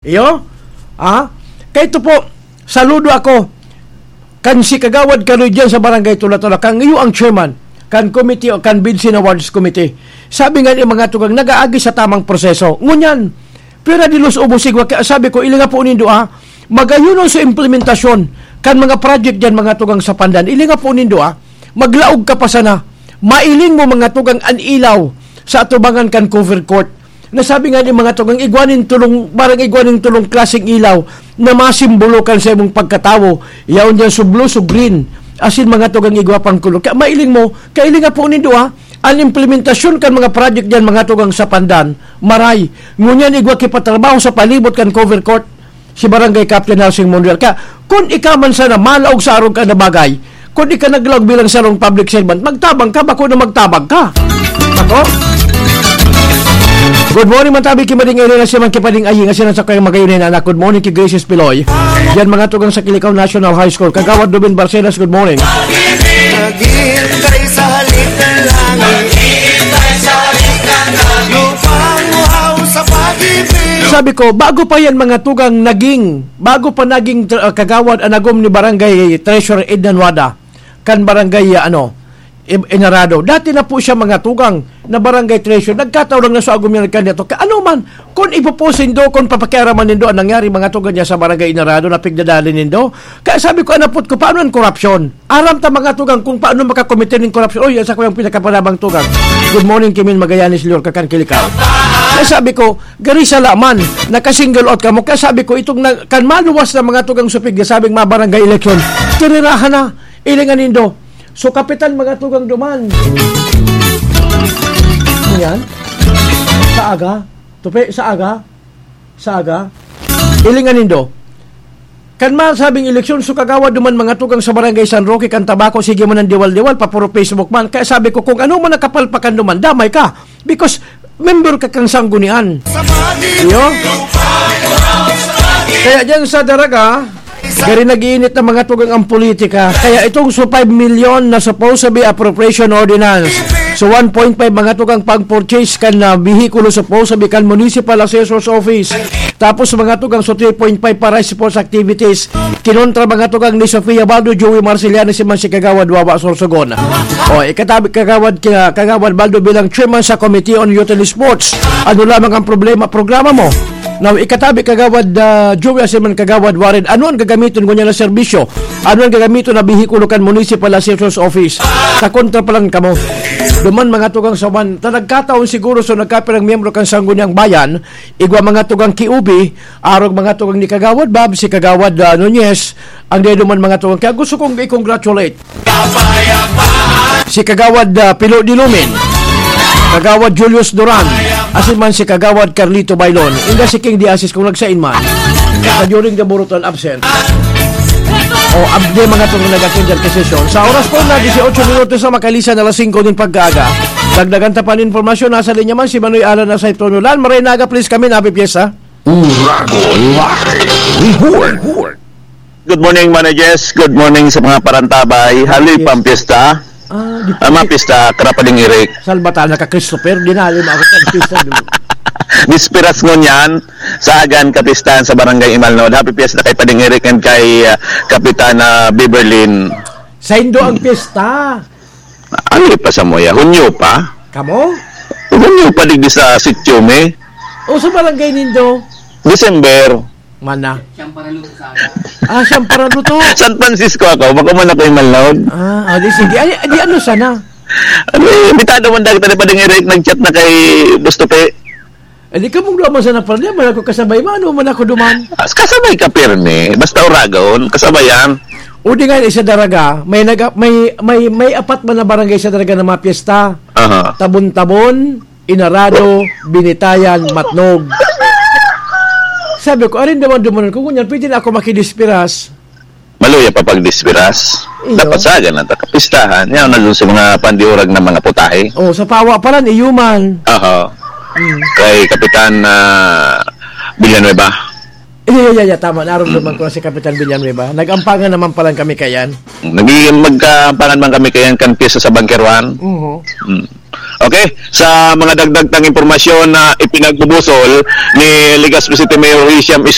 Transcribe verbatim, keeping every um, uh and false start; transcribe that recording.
Iyo? Ha? Kaya ito po, saludo ako kan si Kagawad Kaloy diyan sa Barangay Tula-Tula, kang iyo ang chairman kan committee o kan Bids and Awards Committee. Sabi nga ni mga tugang, nag-aagi sa tamang proseso. Ngunyan, pira di los ubos igwa, kaya sabi ko, ilinga po nindo, ah, magayon sa implementasyon kan mga project diyan, mga tugang sa Pandan. Ilinga po nindo, ah, maglaog ka pa sana. Mailing mo, mga tugang, an ilaw sa atubangan kan cover court. Nasabi nga ni mga tugang, igwa nin tulong, barang igwa nin tulong klaseng ilaw na masimbolo kan sa imong pagkatawo, yaon diyan so blue, so green, asin mga tugang igwa pang kulor. Kaya mailing mo, kailing nga po nindo, ha, an implementasyon kan mga project diyan, mga tugang sa Pandan, maray. Ngunyan igwa kipatrabaho sa palibot kan cover court, si Barangay Captain Housing Monreal. Kaya, kun ika man sana malaog sa arog ka na bagay, kun ika naglaog bilang sarong public servant, magtabang ka, bako na magtabang ka. Bako? Good morning, man tabi ki Mading Irene, siya man ki Pading Aying, siya sa kayang magayon na anak. Good morning ki Gracious Piloy. Yan mga tugang sa Kilikao National High School. Kagawad Ruben Barcenas, good morning. Naghihintay sa halik ng langit. Lupang uhaw sa pag-ibig. Sabi ko, bago pa yan mga tugang naging, bago pa naging tr- ah, kagawad ang agom ni Barangay Treasurer Ednan Wada, kan Barangay, ah, ano, I- Inarado. Dati na po siya mga tugang na Barangay Treasurer. Nagkataon lang na sa agom niya nagkandidato. Ka ano man, kung ipopost nindo, kung papakiaraman nindo ang nangyari mga tugang niya sa Barangay Inarado na pigdadali nindo. Kaya sabi ko, anapot ko, paano ang korupsyon? Aram ta mga tugang kung paano makakomite nin korupsyon. Oy, yan sa kuyang pinakapanabang tugang. Good morning, Kimin Magallanes, Lyor, Kakan Kilikao. Kaya sabi ko, gari sa laman, naka-single out kamo. Kaya sabi ko, itong na, kan maluwas na mga tugang supig, sabing mga barangay election, tirirahan na, ilingan nindo. So, kapitan mga tugang duman. Yan. Sa aga. Tupi, sa aga. Sa aga. Ilingan nindo. Kan masabing eleksyon, so kagawad duman mga tugang sa Barangay San Roque, kan Tabaco, sige man ang diwal-diwal, papuro Facebook man. Kaya sabi ko, kung ano man nakapalpakan duman, damay ka. Because member ka kang sanggunian. Iyo? Kaya diyan sa Daraga, gari nag-iinit na mga tugang ang politika. Kaya itong so five million na supposed to be appropriation ordinance, so one point five mga tugang pag-purchase kan na bihikulo supposed to be kan Municipal Assessor's Office. Tapos mga tugang so three point five para sports activities. Kinontra mga tugang ni Sofia Baldo, Joey Marceliano, si man si Kagawad Wawa Sorsogon. O, ikatabi Kagawad, ka- Kagawad Baldo bilang chairman sa Committee on Youth and Sports. Ano lamang ang problema, programa mo? Now, ikatabi Kagawad ah, Joey, si man Kagawad Warren, ano ang gagamiton ko niya na serbisyo? Ano ang gagamiton na bihikulo kan Municipal Assessor's Office? Sa kontra pa lang kamo. Duman mga tugang sa man, ta nagkataon siguro so nagkapirang miyembro kan Sangguniang Bayan, igwa mga tugang kiubi, arog mga tugang ni Kagawad Bab, si Kagawad ah, Nunez, ang deduman mga tugang. Kaya gusto kong i-congratulate si Kagawad ah, Pilo Dilumin, Kagawad Julius Duran, asin man si Kagawad Carlito Bailon, inda si King Diasis kung nagsain man. Sa during the Boruton absent. O abdi mga tugang nag-attend dyan kay sesyon. Sa oras po na dieciocho minutos na makalisan alas singko nin pagkaaga. Dagdagan ta pa nin impormasyon, nasa linya man si Manoy Alan na sa Itono. Lan, maray naga, please kami, happy pyesta. Uragon Live Report. Good morning, Manoy Jess. Good morning sa mga parantabay. Haloy Yes. pampiyesta. Ah, di Ah, mga piyesta, Karapading Eric. Salbatana ka, Christopher. Dinali mo ako sa piyesta, dulo. Bisperas ngunyan, sa Agan, kapistahan sa Barangay Imalnod. Happy Fiesta kay Pading Eric and kay ah, Kapitana Beverlyn. Saindo ang piyesta. Ano pa sa moya? Hunyo pa? Kamo? Hunyo pa digdi sa sityo mi. O sa barangay nindo? December. Mana? Siyang paraluto sa aga. Ah, siyang paraluto. San Francisco ako, baka man ako yung malnaw. Ah, ah, di sige. Ay, di ano sana? Ano eh, bitado man dagta ni Pading Eric, nag-chat na kay Boss Tupi. Eh, di ka mong duwa man sana pala, man ako kasabay, mano man ako duman. As kasabay ka pirmi, basta oragon, kasabayan. O di nga, isa daraga, may, nag, may, may, may apat man na barangay sa daraga na mga piyesta. Aha. Tabon-Tabon, Inarado, Binitayan, Matnog. Sabi ko, arin naman dumanan ko, ngunyan, pwede na ako makidispiras. Maluya pa pag dispiras. Iyo. Dapat sagan na ta kapistahan. Yan na dun sa mga pandiurag na mga putahe. Oh, sa pawa pa lang, iyo man. Aha. Mm. Kay Kapitan ah, Villanueva. Yeah, yeah, yeah, tama. Narumduman ko na si Kapitan Villanueva. Nag-ampangan naman pala kami kayan. Naging magkaampangan man kami kayan kan pyesa sa Bunker One. Mhm. Mm. Okay, sa mga dagdag tang impormasyon na ipinagbubusol ni Legazpi City Mayor Hisham S.